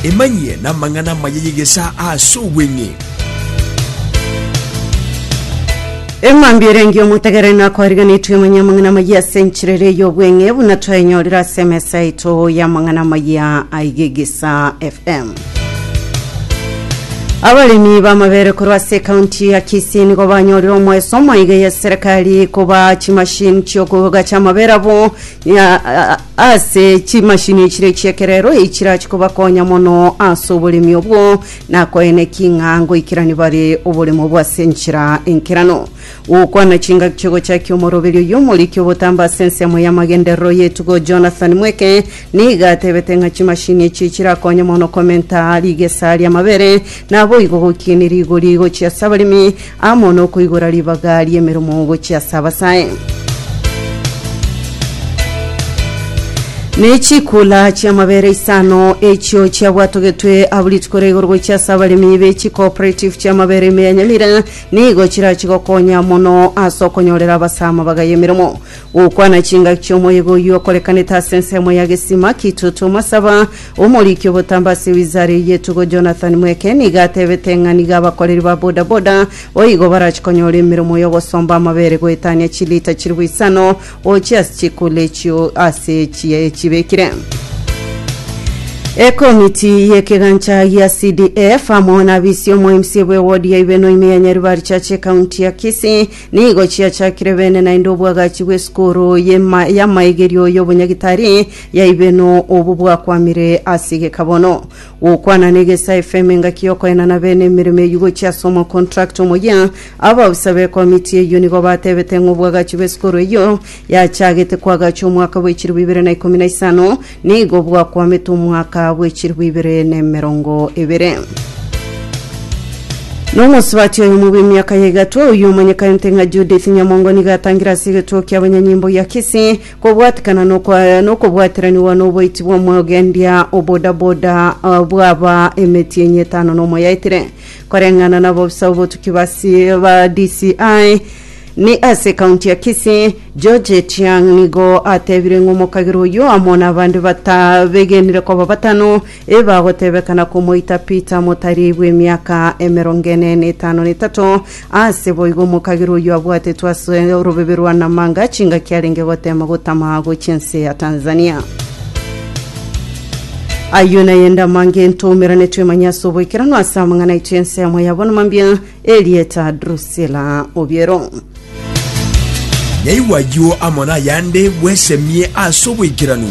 Emanyie namang'ana amaya y'egesaa ase obweng'e. Emambia erenge omotegereri nakwariganetwe emanye amang'ana amayia ase enchera ere y'obweng'e buna twayenyorire ase emesa yaito y'amang'ana amayia aiga Egesa FM. Abaremi b'amabere korwa ase ekaunti ya Kisii nigo banyorire omoeso omaiga ya serikali koba chimashini chiokogacha amabere abo ya- a- ase chimashini chire chi'ekerero echirachi kobakonya mono ase oboremi obwo Nakoeneki ng'a ngoikerani bare oboremo bw'ase enchera enkeranu. Gokwana chingaki chi'ogochakia omoroberio oyio omoriki obotambe ase ensemo y'amagenderero y'etugo Jonathan Mweke nigo atebete ng'a chimashini echi chirakonye mono komenta rigesa ri'amabere naboigo gokinia rigori gochia ase abaremi amo nokoigora ribaga ri'emeremo gochia ase abasae. Ne chikula chi'amabere isano echio chiabwatogetwe abwo rituko ria igoro gochia ase abaremi be chicooperative chi'amabere ime ya Nyamira nigo chirachi gokonya mono ase okonyorera abasae amabaga y'emeremo. Gokwana chingaki chi'omoyega oyio okorekanete ase ensemo ya Gesima, Kitutu, Masaba, Omoriki obotambe ase wizara eyio y'etugo Jonathan Mweke nigo atebete ng'a nigo abakoreri ba boda boda boigo barachi konyora emeremo y'ogosomba amabere goetania chilita chilifu isano gochia ase chikula echio ase chibekire. Ekomiti y'ekegancha gia CDF amo na abisi omo MC bw'ewodi ya Ibeno ime ya Nyaribari Church ekaunti ya Kisii nigo chiachakire bene naende obwagachi bw'esukuru y'amaigerio y'obonyagitari ya Ibeno obwo bwakwamire ase egekabono. Gokwana n'Egesae FM engaki y'okoenana bene emeremo eyio gochia ase omocontract omoyia, abaofisa b'ekomiti eyio nigo batebete ng'a obwagachi bw'esukuru eyio yachagete koagachwa omwaka bwe 2015 nigo bwakwamete omwaka bwe 2020. Nomosubati oyomo bw'emiaka ya igatwa oyio omanyekanete ng'a Judith Nyamongo nigo atangire ase egetuo ki'abanyanyimbo gia Kisii Kobwatikana nokobwateranigwa noboiti bw'omogendia o bodaboda bwaba emetienyi etano nomo yaetire. Koreng'ana nabobisa obotuki ba ba DCI ni ase ekaunti ya Kisii, George Etiang nigo atebire ng'a omokagera oyio amo nabande batabegenire koba batano Ebagotebekana komoita Peter motari bw'emiaka emerongo ene na etano na etato, ase boigo omokagera oyio abwatetwe ase orobebe rwa Namanga chingaki arenge gotema gotama gochia ense ya Tanzania. Ayio nayende amange ntoumerane twemanye ase oboikeranu ase amang'ana aito y'ensemo ya bono mambia, erieta Drusilla Obiero. Nyaigwa ayio amo nayande bwesemie ase oboikeranu.